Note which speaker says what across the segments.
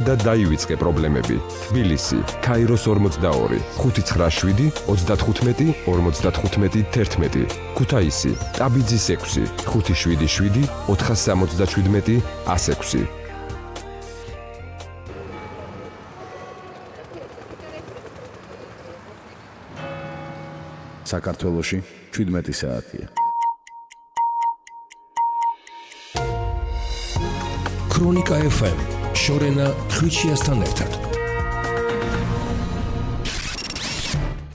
Speaker 1: და დაივიწყე პრობლემები. თბილისი, ქაიროს 42, 597, 35, 55, 11. ქუთაისი, ტაბიძის 6, 577, 477, 106.
Speaker 2: საქართველოში 17 საათია.
Speaker 3: ქრონიკა FM შორენა ხვიჩიასთან ერთად.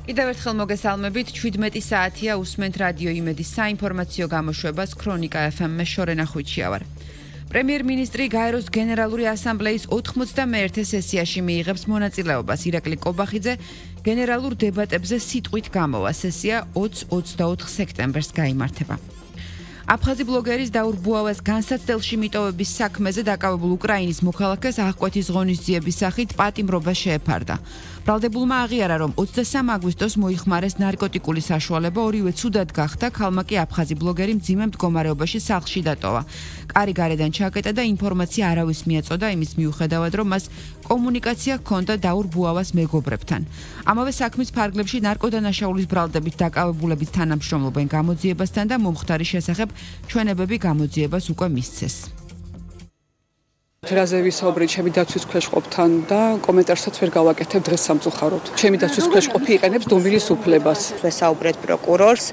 Speaker 4: კიდევ ერთხელ მოგესალმებით, 17 საათია უსმენთ რადიო იმედის საინფორმაციო გამოშვებას ქრონიკა FM-მე შორენა ხვიჩია ვარ. პრემიერ-მინისტრი გაეროს გენერალური ასამბლეის 91 სესიაში მიიღებს მონაწილეობას. ირაკლი კობახიძე გენერალურ დებატებზე სიტყვით გამოვა. სესია 20-24 სექტემბერს გაიმართება. აფხაზი ბლოგერის დაურ ბუავას განსაცდელში მიტოვების საქმეზე დაკავებულ უკრაინის მოქალაქეს აღკვეთის ღონისძიების სახით პატიმრობა შეეფარდა. ბრალდებულმა აღიარა, რომ 23 აგვისტოს მოიხმარეს ნარკოტიკული საშუალება, ორივე ცუდად გახდა, ქალმა კი აფხაზი ბლოგერი მძიმე მდგომარეობაში სახლში დატოვა. კარი გარედან ჩაკეტა და ინფორმაცია არავის მიაწოდა იმის მიუხედავად, რომ მას კომუნიკაცია ჰქონდა დაურ ბუავას მეგობრებთან. ამავე საქმის ფარგლებში ნარკოდანაშაულის ბრალდებით დაკავებულებით თანამშრომლობენ გამოძიებასთან და მომხდარის შესახებ ჩვენებები გამოძიებას უკვე მისცეს.
Speaker 5: რაზე ვისაუბრეთ ჩემი დაცვის ქვეშყოფთან და კომენტარსაც ვერ გავაკეთებ დღეს სამწუხაროდ. ჩემი დაცვის ქვეშყოფი იყენებს დუმილის უფლებას.
Speaker 6: ვესაუბრეთ პროკურორს,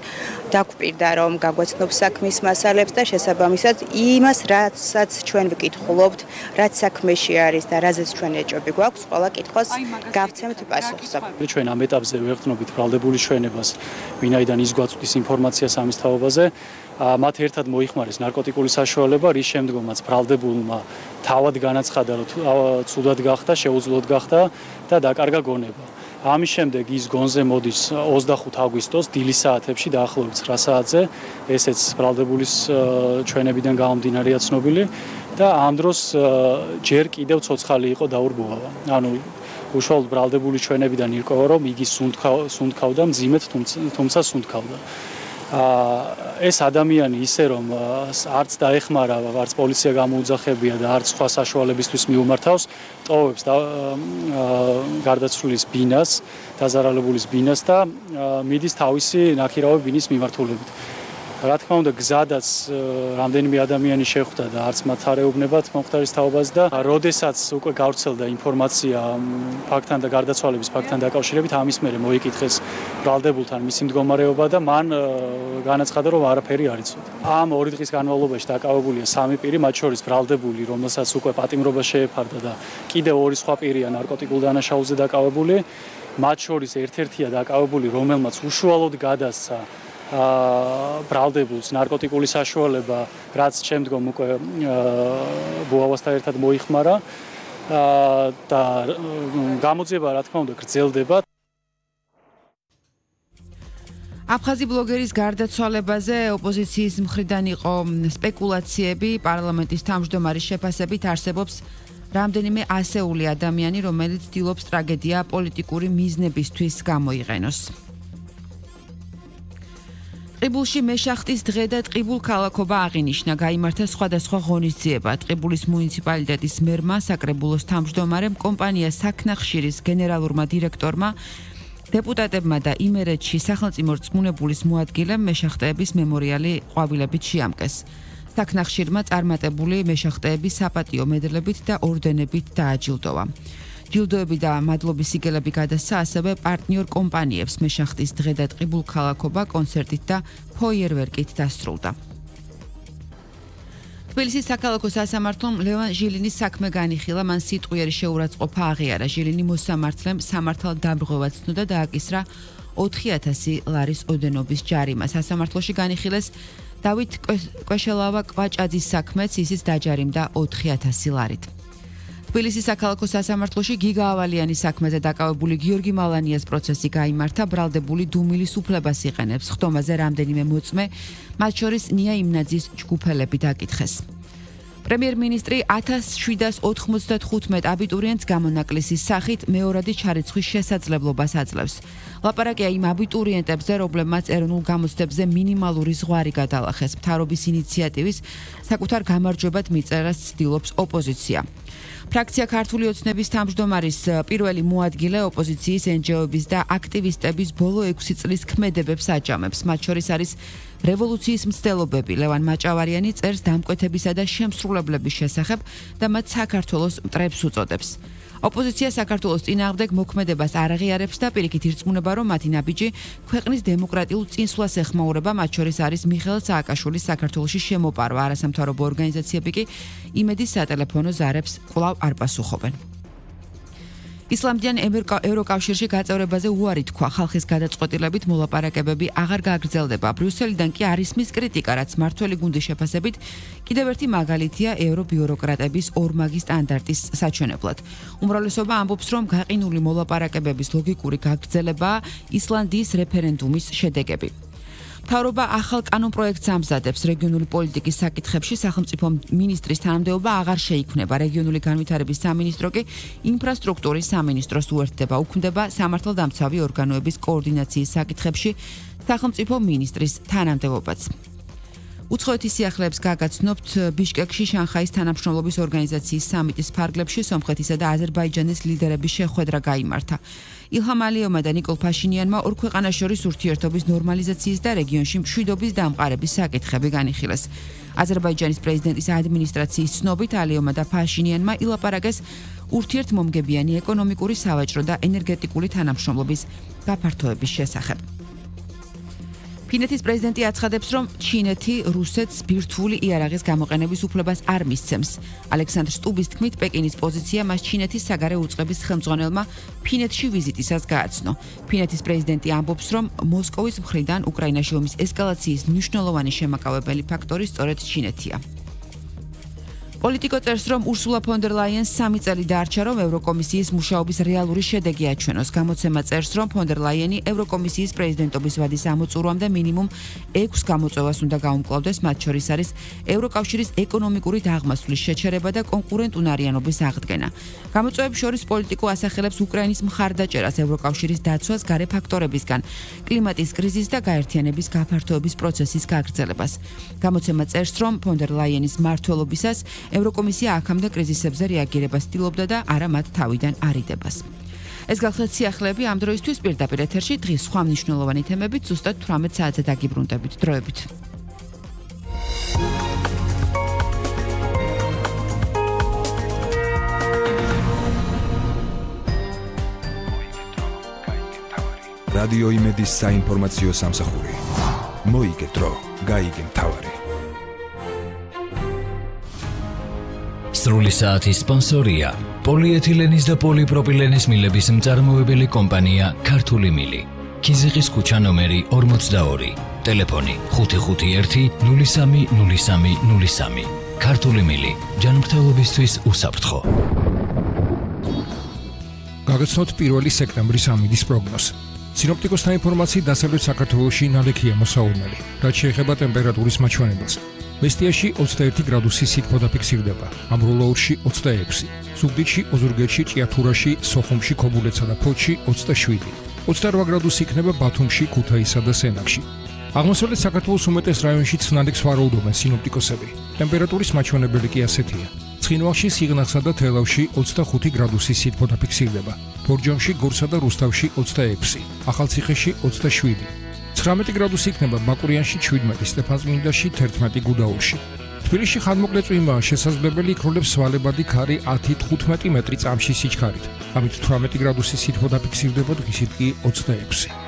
Speaker 6: დაგვპირდა რომ გაგვეცნობს საქმის მასალებს და შესაბამისად იმას, რასაც ჩვენ ვკითხულობთ, რაც საქმეში არის და რაზეც ჩვენ ეჭვები გვაქვს, ყველა კითხვას გავცემთ პასუხს.
Speaker 7: ჩვენ ამ ეტაპზე ვეღწნობით ბრალდებული ჩვენებას, ვინაიდან ის გვაწვდის ინფორმაციას ამის თაობაზე. მათ ერთად მოიხმარეს ნარკოტიკული საშუალება, რის შემდგომაც ბრალდებულმა თავად განაცხადა, რომ ცუდად გახდა, შეუძლოდ გახდა და დაკარგა გონება. ამის შემდეგ ის გონზე მოდის 25 აგვისტოს დილის საათებში დაახლოებით 9 საათზე, ესეც ბრალდებულის ჩვენებიდან გამომდინარეა ცნობილი და ამ დროს ჯერ კიდევ ცოცხალი იყო დაურ ბუავა. ანუ უშუალოდ ბრალდებული ჩვენებიდან ირკვევა, რომ იგი სუნთქავდა მძიმედ, თუმცა სუნთქავდა. ეს ადამიანი ისე რომ არც დაეხმარა, არც პოლიცია გამოუძახებია და არც სხვა საშუალებისთვის მიუმართავს, ტოვებს გარდაცვლილის ბინას, დაზარალებულის ბინას და მიდის თავისი ნახირავი ბინის მიმართულებით. რა თქმა უნდა, გზადაც რამდენიმე ადამიანი შეხვდა და არც მათ არ ეუბნებათ მომხდარის თაობას და როდესაც უკვე გავრცელდა ინფორმაცია ფაქტთან და გარდაცვალების ფაქტთან დაკავშირებით, ამის მერე მოიკითხეს ბრალდებულთან მისი მდგომარეობა და მან განაცხადა, რომ არაფერი არ იცოდა. ამ 2 დღის განმავლობაში დაკავებულია 3 პირი, მათ შორის ბრალდებული, რომელსაც უკვე პატიმრობა შეეფარდა და კიდევ 2 სხვა პირია ნარკოტიკულ დანაშაულზე დაკავებული. მათ შორის ერთ-ერთია დაკავებული, რომელმაც უშუალოდ გადასცა ბრალდებულს ნარკოტიკული საშუალება, რაც შემდგომ უკვე ბუავასთან ერთად მოიხმარა და გამოძიება რა თქმა უნდა გრძელდება.
Speaker 4: აფხაზი ბლოგერის გარდაცვალებაზე ოპოზიციის მხრიდან იყო სპეკულაციები, პარლამენტის თავმჯდომარის შეფასებით არსებობს რამდენიმე ასეული ადამიანი, რომელიც ცდილობს ტრაგედია პოლიტიკური მიზნებისთვის გამოიყენოს. ტყიბულში მეშახტის დღე და ტყიბულ ქალაქობა აღინიშნა, გაიმართა სხვადასხვა ღონისძიება. ტყიბულის მუნიციპალიტეტის მერმა, საკრებულოს თავმჯდომარემ, კომპანია საქნახშირის გენერალურმა დირექტორმა, დეპუტატებმა და იმერეთში სახელმწიფო რწმუნებულის მოადგილემ მეშახტეების მემორიალი ყვავილებით შეამკეს. საქნახშირმა წარმატებული მეშახტეები საპატიო მედლებით და ორდენებით დააჯილდოვა. ჯილდოები და მადლობის სიგელები გადასცა ასევე პარტნიორ კომპანიებს. მეშახტის დღე და ტყიბულ ქალაქობა კონცერტით და ფოიერვერკით დასრულდა. თბილისის საქალაქო სასამართლომ ლევან ჟილინის საქმე განიხილა, მან სიტყვიერი შეურაცხყოფა აღიარა. ჟილინი მოსამართლემ სამართალდამრღვევად ცნო და დააკისრა 4000 ლარის ოდენობის ჯარიმა. სასამართლოში განიხილეს დავით კვეშელავა კვაჭაძის საქმეც, ისიც დაჯარიმდა 4000 ლარით. თბილისის საქალაქო სასამართლოში გიგა ავალიანის საქმეზე დაკავებული გიორგი მალანიას პროცესი გაიმართა. ბრალდებული დუმილის უფლებას იყენებს. ხდომაზე რამდენიმე მოწმე, მათ შორის ნია იმნაძის ჯგუფელები დაკითხეს. პრემიერ-მინისტრი 1795 აბიტურიენტს გამონაკლისის სახით მეორადი ჩარიცხვის შესაძლებლობას აძლევს. ლაპარაკია იმ აბიტურიენტებზე, რომლებმაც ეროვნულ გამოცდებზე მინიმალური ზღვარი გადალახეს. მთავრობის ინიციატივის საკუთარ გამარჯვებად მიწერას ცდილობს ოპოზიცია. ფრაქცია ქართული ოცნების თავმჯდომარის პირველი მოადგილე ოპოზიციის NGO-ების და აქტივისტების ბოლო 6 წლის ქმედებებს აჯამებს. მათ შორის არის რევოლუციის მცდელობები. ლევან მაჭავარიანი წერს დამკვეთებისა და შემსრულებლების შესახებ და მათ საქართველოს მტრებს უწოდებს. ოპოზიცია საქართველოს წინააღმდეგ მოქმედებას არ აღიარებს და პირიქით ირწმუნება, რომ მათი ნაბიჯი ქვეყნის დემოკრატიულ წინსვლას ეხმაურება, მათ შორის არის მიხეილ სააკაშვილის საქართველოში შემოპარვა. არასამთავრობო ორგანიზაციები კი იმედის სატელეფონო ზარებს კვლავ არ პასუხობენ. ისლამდიან ევროკავშირში გაწევრებაზე უარი თქვა. ხალხის გადაწყვეტილებით მოლაპარაკებები აღარ გაგრძელდება. ბრიუსელიდან კი არ ისმის კრიტიკა, რაც მართველი გუნდის შეფასებით კიდევ ერთი მაგალითია ევრობიუროკრატების ორმაგი სტანდარტის საჩვენებლად. უმრავლესობა ამბობს, რომ გაყინული მოლაპარაკებების ლოგიკური გაგრძელებაა ისლანდიის რეფერენდუმის შედეგები. მთავრობა ახალ კანონპროექტს ამზადებს. რეგიონული პოლიტიკის საკითხებში სახელმწიფო მინისტრის თანამდებობა აღარ შეიქმნება. რეგიონული განვითარების სამინისტრო კი ინფრასტრუქტურის სამინისტროს უერთდება. უქმდება სამართალდამცავი ორგანოების კოორდინაციის საკითხებში სახელმწიფო მინისტრის თანამდებობაც. უცხოეთის სიახლეებს გაგაცნობთ ბიშკეკში შანხაის თანამშრომლობის ორგანიზაციის სამიტის ფარგლებში სომხეთისა და აზერბაიჯანის ლიდერების შეხვედრა გაიმართა. ილჰამ ალიევმა და ნიკოლ ფაშინიანმა ორ ქვეყანას შორის ურთიერთობის ნორმალიზაციის და რეგიონში მშვიდობის დამყარების საკითხები განიხილეს. აზერბაიჯანის პრეზიდენტის ადმინისტრაციის ცნობით ალიევმა და ფაშინიანმა ილაპარაკეს ურთიერთმომგებიანი ეკონომიკური, სავაჭრო და ენერგეტიკული თანამშრომლობის გაფართოების შესახებ. ფინეთის პრეზიდენტი აცხადებს, რომ ჩინეთი რუსეთს ბირთვული იარაღის გამოყენების უფლებას არ მისცემს. ალექსანდრ სტუბის თქმით, პეკინის პოზიცია მას ჩინეთის საგარეო უწყების ხელმძღვანელმა ფინეთში ვიზიტისას გააცნო. ფინეთის პრეზიდენტი ამბობს, რომ მოსკოვის მხრიდან უკრაინაში ომის ესკალაციის მნიშვნელოვანი შემაკავებელი ფაქტორი სწორედ ჩინეთია. პოლიტიკო წერს, რომ ურსულა ფონ დერ ლაიენს 3 წელი დაარჩა, რომ ევროკომისიის მუშაობის რეალური შედეგი აჩვენოს. გამოცემა წერს, რომ ფონ დერ ლაიენი ევროკომისიის პრეზიდენტობის ვადის ამოწურვამდე მინიმუმ 6 გამოწვევას უნდა გაუმკლავდეს, მათ შორის არის ევროკავშირის ეკონომიკური დაღმასვლის შეჩერება და კონკურენტუნარიანობის აღდგენა. გამოწვევებს შორის პოლიტიკო ასახელებს უკრაინის მხარდაჭერას, ევროკავშირის დაცვას გარე ფაქტორებისგან, კლიმატის კრიზისის და გაერთიანების გაფართოების პროცესის გაგრძელებას. გამოცემა წერს, რომ ფონ დერ ლაიენის მმართველობისას ევროკომისია აქამდე კრიზისებზე რეაგირებას ცდილობდა და არა მათ თავიდან არიდებას. ეს გახლდათ სიახლეები ამ დროისთვის პირდაპირ ეთერში დღის სხვა მნიშვნელოვანი თემებით ზუსტად 18 საათზე დაგიბრუნდებით. დროებით.
Speaker 3: რადიო იმედის საინფორმაციო სამსახური. მოიგე დრო, გაიგე მთავარი.
Speaker 8: სრული საათის სპონსორია პოლიეთილენის და პოლიპროპილენის მილების მწარმოებელი კომპანია ქართული მილი. ქიზიყის ქუჩა ნომერი 42. ტელეფონი 551 03 03 03. ქართული მილი. ჯანმრთელობისთვის უსაფრთხო.
Speaker 9: გაგაცნოთ 1 სექტემბრის ამინდის პროგნოზს. სინოპტიკოსთა ინფორმაციით დასავლეთ საქართველოში ნალექია მოსაურნელი, რაც შეეხება ტემპერატურის მაჩვენებას. მესტიაში 21 გრადუსი სითბო დაფიქსირდება, ამბროლაურში 26, ზუგდიდში, ოზურგეთში, ჭიათურაში, სოხუმში, ქობულეთსა და ფოთში 27, 28 გრადუსი იქნება ბათუმში, ქუთაისსა და სენაკში. აღმოსავლეთ საქართველოს უმეტეს რაიონშიც ნალექს ვარაუდობენ სინოპტიკოსები. ტემპერატურის მაჩვენებელი კი ასეთია. ცხინვალში, სიღნაღსა და თელავში 25 გრადუსი სითბო დაფიქსირდება, ბორჯომში, გორსა და რუსთავში 26, ახალციხეში 27. 19 გრადუსი იქნება ბაკურიანში 17, სტეფანწმინდაში 11, გუდაურში. თბილისში ხანმოკლე წვიმაა შესაძლებელი, იქროლებს სვალებადი ქარი 10-15 მეტრი წამში სიჩქარით. ამით 18 გრადუსი სითბო დაფიქსირდება, დღისით კი 26.